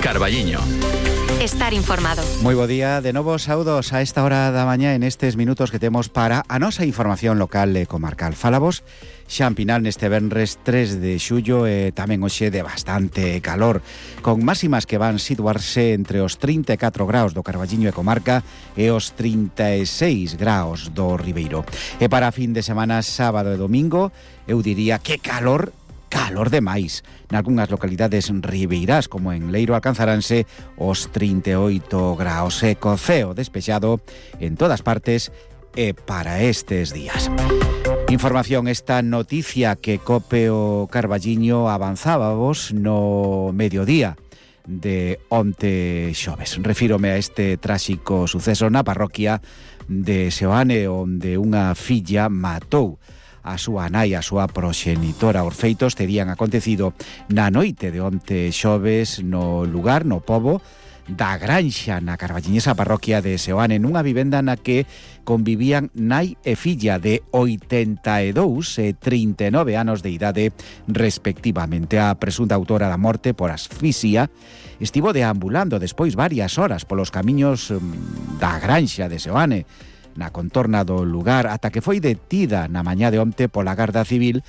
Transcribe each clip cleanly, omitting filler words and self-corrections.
Carballiño. Estar informado. Moi bo día, de novo saúdos a esta hora da mañá en estes minutos que temos para a nosa información local e comarcal. Falamos xa en Pinal neste venres 3 de xullo e tamén hoxe de bastante calor, con máximas que van situarse entre os 34 graus do Carballiño e comarca e os 36 graus do Ribeiro. E para fin de semana, sábado e domingo, eu diría que calor demais. Nalgúnas localidades ribeirás, como en Leiro, alcanzaránse os 38 graus e co ceo despexado en todas partes e para estes días. Información, esta noticia que Cope o Carballiño avanzábamos no mediodía de onte xoves. Refírome a este tráxico suceso na parroquia de Seoane, onde unha filla matou a súa nai, a súa proxenitora. Os feitos terían acontecido na noite de onte xoves no lugar, no pobo da Granxa, na carballiñesa parroquia de Seoane, nunha vivenda na que convivían nai e filla de 82 e 39 anos de idade respectivamente. A presunta autora da morte por asfixia estivo deambulando despois varias horas polos camiños da Granxa de Seoane, na contorna do lugar, ata que foi detida na mañá de onte pola Garda Civil,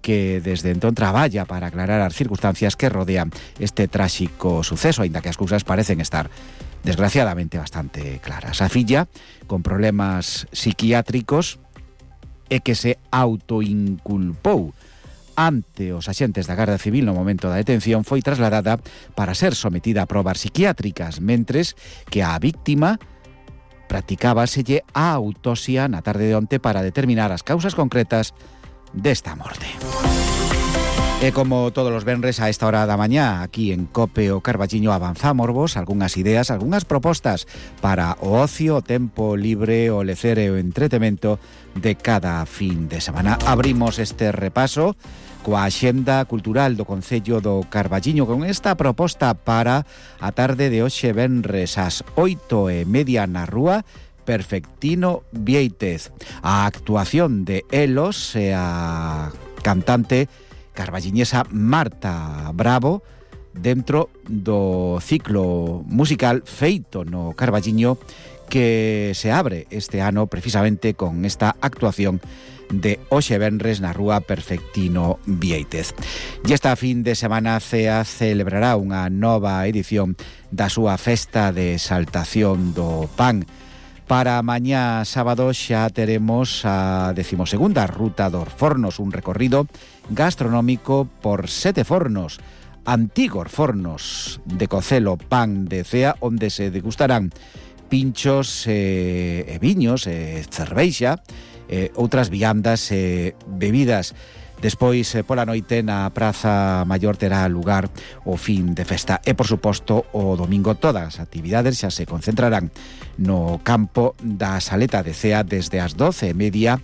que desde entón traballa para aclarar as circunstancias que rodean este tráxico suceso, aínda que as cousas parecen estar desgraciadamente bastante claras. A filla, con problemas psiquiátricos, e que se autoinculpou ante os axentes da Garda Civil no momento da detención, foi trasladada para ser sometida a probas psiquiátricas, mentres que a víctima practicábaselle a autopsia na tarde de onte para determinar as causas concretas desta morte. E como todos os venres a esta hora da mañá, aquí en Cope o Carballiño avanzámosvos algunhas ideas, algunhas propostas para o ocio, o tempo libre, o lecer e o entretemento de cada fin de semana. Abrimos este repaso coa axenda cultural do Concello do Carballiño con esta proposta para a tarde de hoxe venres ás 8:30 na rúa Perfectino Viéitez. A actuación de Elos e a cantante carballiñesa Marta Bravo dentro do ciclo musical feito no Carballiño que se abre este ano precisamente con esta actuación de hoxe venres na rúa Perfectino Viéitez. E esta fin de semana CEA celebrará unha nova edición da súa festa de exaltación do pan. Para mañá sábado xa teremos a 12ª Ruta dos Fornos, un recorrido gastronómico por 7 fornos, antigos fornos de cocelo pan de CEA, onde se degustarán pinchos e viños e cerveixa, outras viandas e bebidas. Despois, pola noite, na Praza Maior terá lugar o fin de festa. E, por suposto, o domingo todas as actividades xa se concentrarán no campo da Saleta de CEA desde as 12:30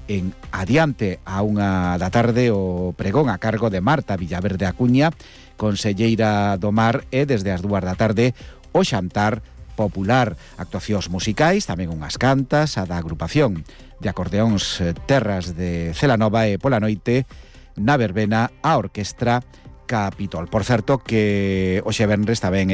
en adiante a 1 da tarde o pregón a cargo de Marta Villaverde Acuña, conselleira do Mar, e desde as 2 da tarde o xantar popular, actuacións musicais, tamén unhas cantas, a da agrupación de acordeóns Terras de Celanova e pola noite na verbena a orquestra Capitol. Por certo que hoxe venres tamén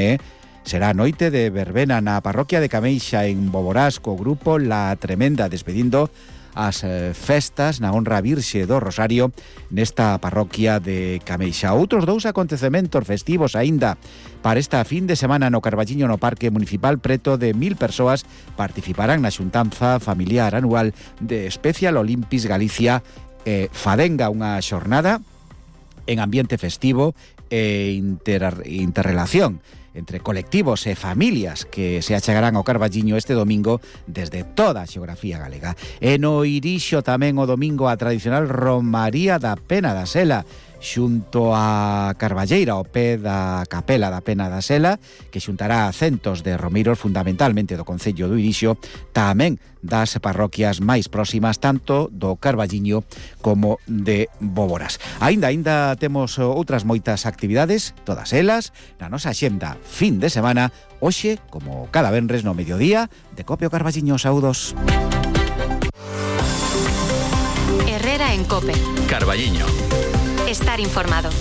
será a noite de verbena na parroquia de Cameixa en Boborás co grupo La Tremenda, despedindo as festas na honra Virxe do Rosario nesta parroquia de Cameixa. Outros 2 acontecementos festivos aínda para esta fin de semana no Carballiño, no Parque Municipal. Preto de 1000 persoas participarán na xuntanza familiar anual de Special Olympics Galicia Fadenga, unha xornada en ambiente festivo e interrelación entre colectivos e familias que se achegarán ao Carballiño este domingo desde toda a xeografía galega. E no Irixo tamén o domingo a tradicional Romaría da Pena da Sela, xunto a Carballeira, ao pé da Capela da Pena da Sela, que xuntará a centos de romeiros fundamentalmente do Concello do Irixo, tamén das parroquias máis próximas, tanto do Carballiño como de Boborás. Aínda temos outras moitas actividades, todas elas na nosa axenda fin de semana, hoxe, como cada venres no mediodía, de Cope o Carballiño. Saúdos. Herrera en Cope. Carballiño. Estar informado.